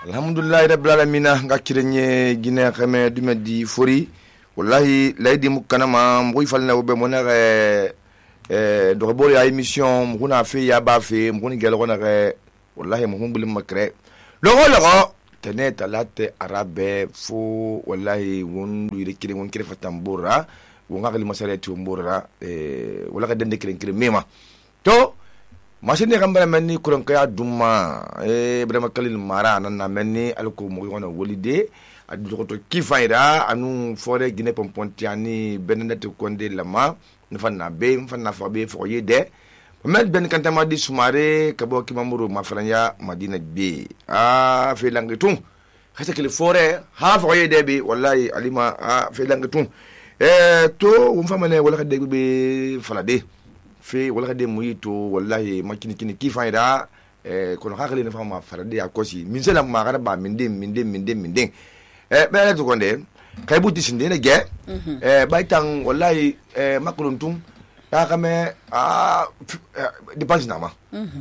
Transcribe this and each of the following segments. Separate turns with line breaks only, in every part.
Alhamdulillah rabbil alamin nga kirenye gine xame dume di fori wallahi laydi mukanama mboy falna wobe mona do bori ay émission muna fe ya ba fe muni gelo na wallahi mo bulim makre logo tene talate arabe fo wallahi won du kire won kire fatambura won ngali masarati mbura wala ka dende kire mema to machine gambara menni kuran kaya duma ibrahima kalil mara nan na menni alko mo gona wolide adu to kifaira anu fore gine pompontiani benenet konde lama nfanna be nfanna fa be fo yede men ben kantama di sumare kabo kimamuru mafranya madina be fe langitum khasa kile fore ha fo yede be wallahi alima fe langitum to umfamane wala kade be falade fe wala de muyito wallahi makini kifaira kono hakali na fama farade akosi min sela magara ba min den bele to konde kay buti sinde ne ge baytan wallahi makuluntum ya kame dépense na ma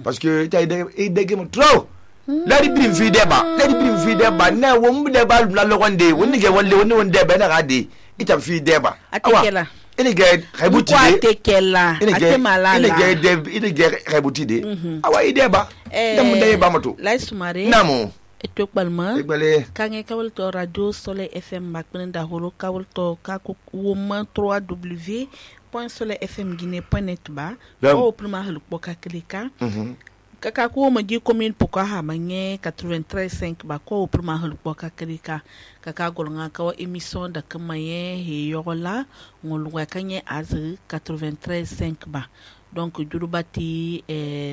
parce que tay de game trop la di brim fi deba na wo mu deba la lo konde woni ge walle woni deba na gadi itam fi deba
atikela
ene ge kaybuti de
atekela atemalala
ene ge kaybuti de awa ideba dam ndey bamato
lay sumare
namo
etok balma
egbale
kange kawal to radio Soleil FM bakmen da holo kawal to ka ko woma 3w.soleilfmguinée.net ba o prima hal poka klika kaka ko ma di commune poka ha manye 93.5 ba ko prima hal poka klika kaka golnga ka émission da kamaye he yola ngolwa kanye az 93.5 ba donc durubati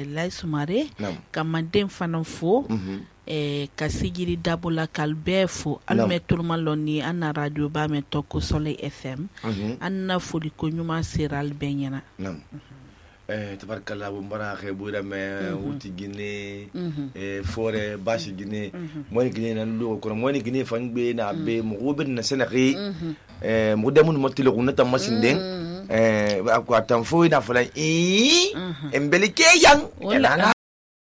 lay sumare kamadem fananfo kasigiri dabula kalbefo alme turmaloni ana radio ba me toko Soleil FM anna foli ko nyuma seral benyana
tabarkalla mbara khebura me wuti gine fore bashi gine moni gine nan lo ko moni gine fangbe na be mo wobin na senaki mo demun motilo kunata masinde ko atam fo na fala embelike yang la